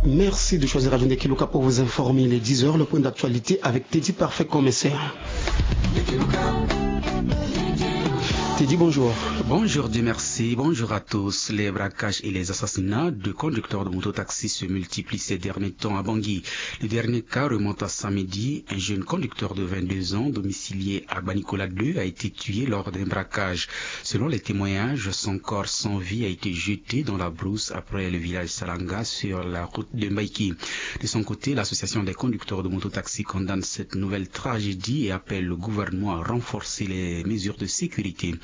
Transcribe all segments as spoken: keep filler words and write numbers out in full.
Merci de choisir Radio Ndekeluka pour vous informer. Il est dix heures, le point d'actualité avec Teddy Parfait Commissaire. Teddy, bonjour. Bonjour, Dieu merci. Bonjour à tous. Les braquages et les assassinats de conducteurs de mototaxi se multiplient ces derniers temps à Bangui. Le dernier cas remonte à samedi. Un jeune conducteur de vingt-deux ans, domicilié à Banicola deux, a été tué lors d'un braquage. Selon les témoignages, son corps sans vie a été jeté dans la brousse après le village Salanga sur la route de Mbaïki. De son côté, l'association des conducteurs de mototaxi condamne cette nouvelle tragédie et appelle le gouvernement à renforcer les mesures de sécurité.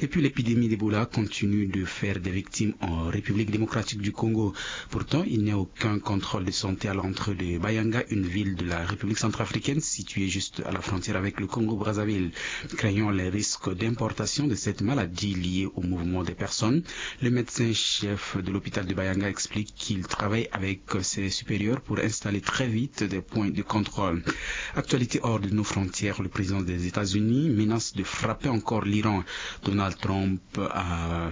Et puis l'épidémie d'Ebola continue de faire des victimes en République démocratique du Congo. Pourtant, il n'y a aucun contrôle de santé à l'entrée de Bayanga, une ville de la République centrafricaine située juste à la frontière avec le Congo-Brazzaville. Craignant les risques d'importation de cette maladie liée au mouvement des personnes, le médecin-chef de l'hôpital de Bayanga explique qu'il travaille avec ses supérieurs pour installer très vite des points de contrôle. Actualité hors de nos frontières, le président des États-Unis menace de frapper encore l'Iran. Donald Trump a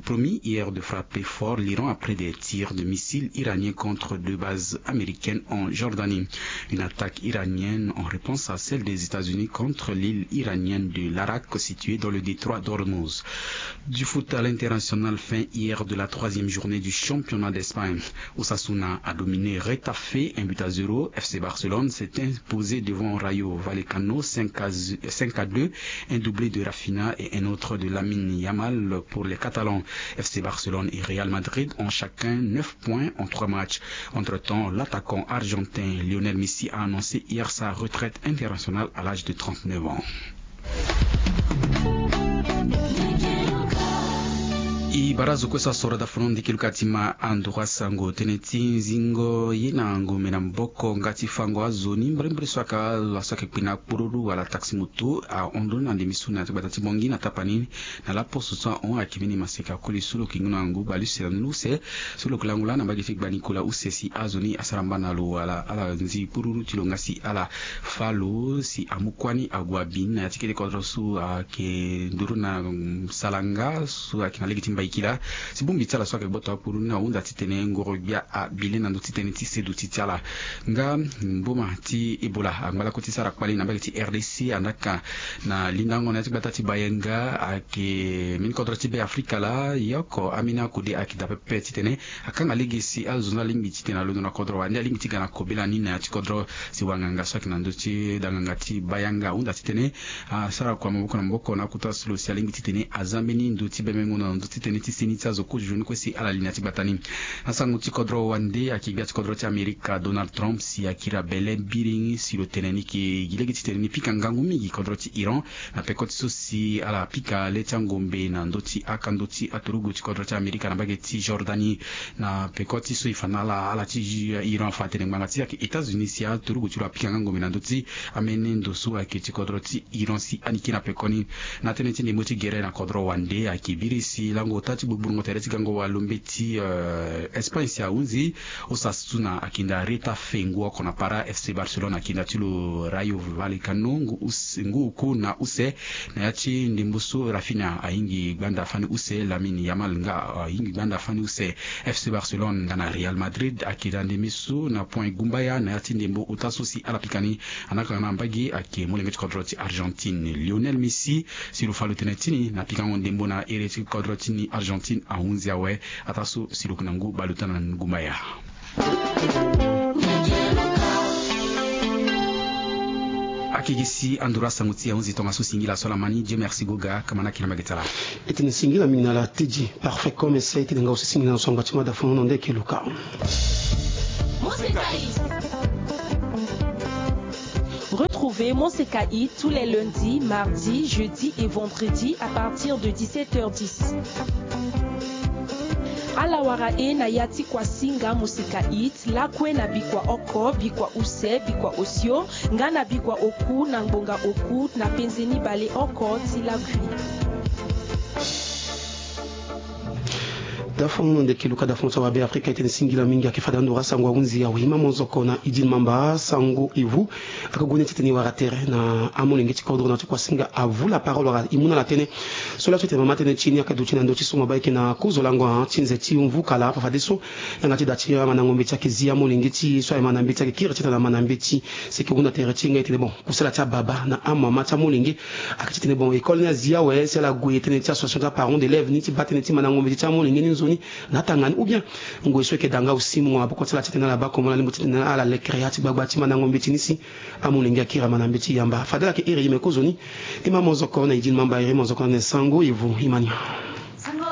promis hier de frapper fort l'Iran après des tirs de missiles iraniens contre deux bases américaines en Jordanie. Une attaque iranienne en réponse à celle des États-Unis contre l'île iranienne de l'Arak située dans le détroit d'Ormuz. Du foot à l'international, fin hier de la troisième journée du championnat d'Espagne. Osasuna a dominé Retafe, un but à zéro. F C Barcelone s'est imposé devant Rayo Vallecano, cinq à, cinq à deux. Un doublé de Rafinha et un autre de Lamine Yamal pour les Catalans. F C Barcelone et Real Madrid ont chacun neuf points en trois matchs. Entre-temps, l'attaquant argentin Lionel Messi a annoncé hier sa retraite internationale à l'âge de trente-neuf ans. E barazo kue so asoro daa funu ndiki luka ti ma andura sango tënë ti nzingo ye na ngombe na maboko nga ti fango azo ni mbrimbri so ayeke azo so ayeke kpi na kpururu wala taxi moto ahon ndoni na ndembe so na ya ti gbata ti Bangui na tapani na laposo so ahon ayeke mbeni maseka koli so lo yeke ngu na ngu bale use na ndoni use so lo yeke lango laa na mbage ti gba Nicolas use si azo ni asara mba na lo wala ala nzi kpururu ti lo nga si ala fâ lo si amu kuâ ni ague abi ni na ya ti kete kodro so ayeke nduru na Salanga so ayeke na lege ti Mbaïkila. Si bongbi ti ala so ayeke gboto akpuru ni ahunda titene ngoro gbia abile na ndö ti tënë ti seduti ti ala. Nga mboma ti Ebola angba lakue ti sara kpali na mbage ti R D C andaa ka na lindango na ya ti gbata ti Bayanga ayeke mbeni kodro ti Be Afrika laa e oko ambeni akode ayeke daa pepe titene akanga lege si azo ni alingbi titene alondo na kodro wande alingbi ti ga na kobela ni na ya ti kodro si wanganga so ayeke na ndö ti danganga ti Bayanga ahunda titene asara kua maboko na maboko na akota so lo si alingbi titene aza mbeni ndo ti bemengo na ndo ti tënë ti seni ti azo kozo ni kue si ala li na ya ti gbata ni. Na sango ti kodro wande ayeke gbia ti kodro ti Amerika Donald Trump si akiri abele biringi si lo tene ni yeke gi lege titene ni pika ngangu mingi kodro ti Iran na peko ti so si ala pika le ti angombe na ndö ti akando ti aturugu ti kodro ti Amerika na mbage ti Jordanie. Na peko ti so e fa na ala ala ti Iran afa atene ngbanga ti e ayeke États-Unis si aturugu ti lo apika nga ngombe na ndö ti ambeni ndo so ayeke ti kodro ti Iran si anike na pekoni. Na tënë ti ndembo ti gere na kodro wande ayeke biri si lango ota ti gbugbulungo tere ti gango walombe ti Espagne si ahunzi Osasuna akinda Retafe ngu oko na para, F C Barcelone akinda ti lo Rayo Vallecano ngu oku na use. Na ya ti ndembo so Rafinha ahingi gbanda fani use, Lamine Yamal nga ahingi gbanda fani use. F C Barcelone nga na Real Madrid akinda ndembe so na point gumbaya na ya ti ndembo ota so si ala pika ni. Anaka na mbage ayeke molenge ti kodro ti Argentine Lionel Messi si lo fa lo tene ti ni na pikango ndembo na ere ti kodro ti ni Argentine ahunzi awe. Ataa so si lo yeke na ngu bale ota na ngumbaya. Akeke si anduru asango ti e ahunzi tongaso singila so ala ma ni. Dieu merci Goga, kamana kiri na mbage ti ala. E tene singila mingi na ala Teddy Parfait comme ese. E tene nga aussi singila na so angba ti mada funu na nde eke luka. Retrouvez Moseka Hit tous les lundis, mardis, jeudis et vendredis à partir de dix-sept heures dix. Ala wara e na ya ti kuasinga Moseka Hit lakue na bikua oko, bikua use, bikua osio nga na bikua oku na ngbonga oku na penze ni bale oko ti lakui. Dafon ndeke luka dafon ti awabe afrika e tene singila mingi ayeke fade ando wara sango ahunzi awe ima monzoko na idine mamba sango evu. Aka gue ni ti tene e wara tere na amolenge ti kodro na ti kuasinga avu la parole wala e mu na ala tënë. So laa so e tene mama tënë ti e ni aka duti na ndö ti so mo baa e yeke na kozo lango ti nze ti mvukala fafadeso. Yanga ti da ti amandango mbeti ayeke zi amolenge ti e so aye mana mbeti ayeke kiri ti tene na mana mbeti. Si e yeke hunda tere ti e nga e tene bon kusala ti ababa na amama ti amolenge. Ayeke ti tene bon école ni azi awe si ala gue tënë ti association ti aparents d'élèves ni ti baa tënë ti mandango mbeti ti amolenge ni nzoni na atanga ni ou bien ngoi so e yeke da nga aussi mungo maboko ti ala ti tene ala baa komo ala lingbi ti tene ala lekere ya ti gbagba ti mandango mbeti ni si amolenge akiri amana mbeti yamba fade ala yeke iri ye me kozoni. Ima monzoko na idine mamba iri monzoko na nen sango evu ima ni.